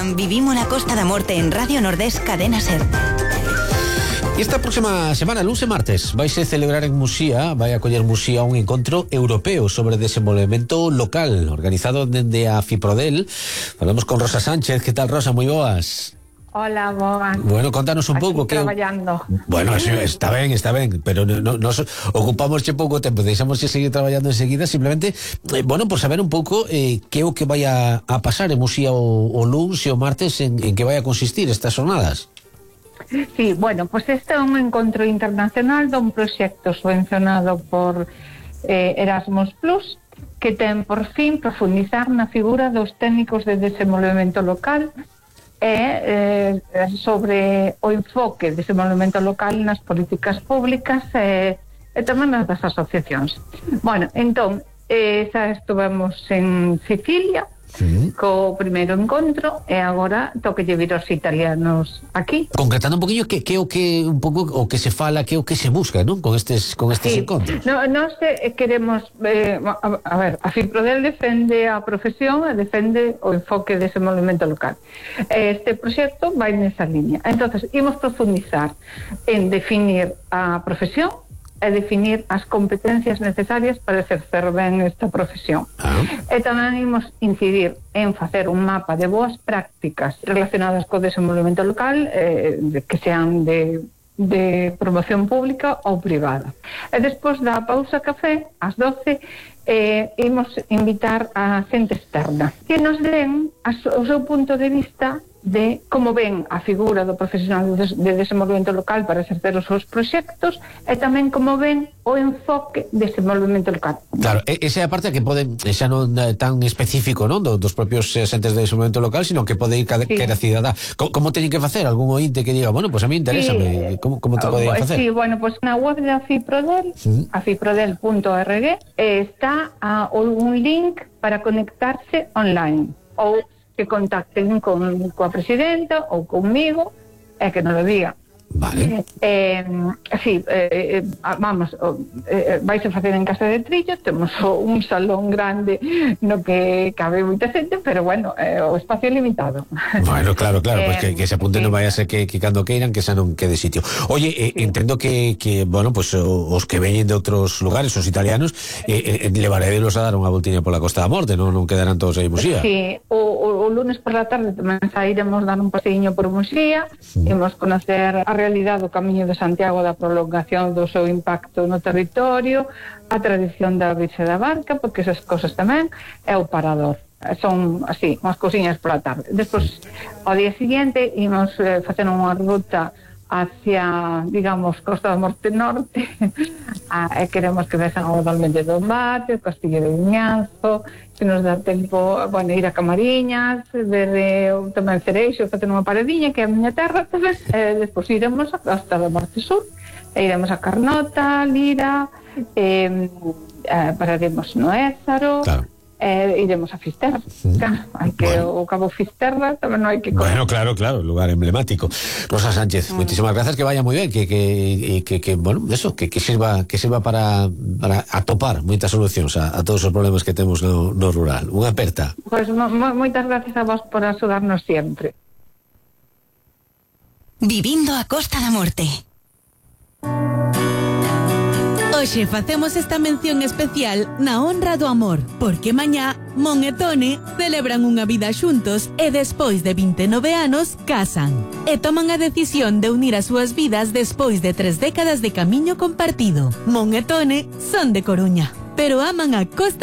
Escoitan Vivimos na Costa da Morte en Radio Nordés Cadena Ser. E esta próxima semana, lunes e martes, vaise celebrar en Muxía, vai acoller Muxía un encontro europeo sobre desenvolvemento local, organizado dende a Fiprodel. Falamos con Rosa Sánchez. Que tal, Rosa? Moi boas. Hola, boas. Bueno, contanos un pouco que... traballando. Bueno, está ben, pero nos ocupamos pouco tempo, deixamos de seguir traballando enseguida, simplemente, bueno, por saber un pouco que é o que vai a pasar en Muxía o lunes e o martes, en que vai a consistir estas jornadas. Sí, bueno, pues este é un encontro internacional dun proxecto subvencionado por Erasmus Plus, que ten por fin profundizar na figura dos técnicos de desenvolvemento local e sobre o enfoque de desenvolvemento local nas políticas públicas e tamén nas das asociacións. Bueno, entón, xa estuvemos en Sicilia, co primeiro encontro, e agora toquelle vir os italianos aquí. Concretando un poquinho que é o que un pouco o que se fala, que é o que se busca, non? Con estes encontros. Nós queremos a ver, a Fiprodel defende a profesión e defende o enfoque de desenvolvemento local. Este proxecto vai nesa liña. Entonces, imos profundizar en definir a profesión e definir as competencias necesarias para exercer ben esta profesión. E tamén imos incidir en facer un mapa de boas prácticas relacionadas co desenvolvemento local, que sean de promoción pública ou privada. E despois da pausa café, ás 12, imos invitar a xente externa que nos den o seu punto de vista de como ven a figura do profesional de desenvolvemento local para exercer os seus proxectos e tamén como ven o enfoque de desenvolvemento local. Claro, esa é a parte que pode, xa non tan específico, non, dos propios xentes de desenvolvemento local, sino que pode ir cada cidadá. Como teñen que facer? Algún ointe que diga, bueno, pues a mí interésame, como te poden facer? Sí, bueno, pues na web da Fiprodel, afiprodel.org, está un link para conectarse online, ou que contacten coa presidenta ou conmigo e que nos lo diga. Vale. Vamos, vais a facer en Casa de Trillo, temos un salón grande no que cabe moita xente, pero bueno, o espacio é limitado. Bueno, claro, pues que se apunten, non vai a ser que cando queiran, que xa non quede sitio. Oye, entendo que bueno, pues os que veñen de outros lugares, os italianos, levaredelos a dar unha voltiña pola Costa da Morte, non quedarán todos aí en Muxía. Sí, o lunes por la tarde tamén sairemos dar un paseiño por Muxía, imos conocer a realidade do Camiño de Santiago, da prolongación do seu impacto no territorio, a tradición da Virxe da Barca, porque esas cosas tamén, é o parador. Son así, unhas cousiñas pola tarde. Despois, ao día seguinte, imos facer unha ruta hacia, digamos, Costa da Morte Norte, e queremos que vexan o Dolmen de Dombate, o Castillo de Viñanzo, se nos dá tempo, bueno, ir a Camariñas, ver tamén Cereixo, facer unha paradiña, que é a miña terra tamén, despois iremos a Costa da Morte Sur, e iremos a Carnota, Lira, pararemos no Ézaro, claro. Iremos a Fisterra, hai que o Cabo Fisterra tamén non hai que comer. Bueno, claro, lugar emblemático. Rosa Sánchez, muchísimas gracias, que vaya moi ben, que bueno, eso, que sirva para atopar moitas solucións a todos os problemas que temos no rural. Unha aperta. Pois moitas gracias a vos por axudarnos sempre. Vivindo a Costa da Morte. Hoxe facemos esta mención especial na honra do amor, porque mañá Mon e Tone celebran unha vida xuntos e despois de 29 anos casan. E toman a decisión de unir as súas vidas despois de 3 décadas de camiño compartido. Mon e Tone son de Coruña, pero aman a Costa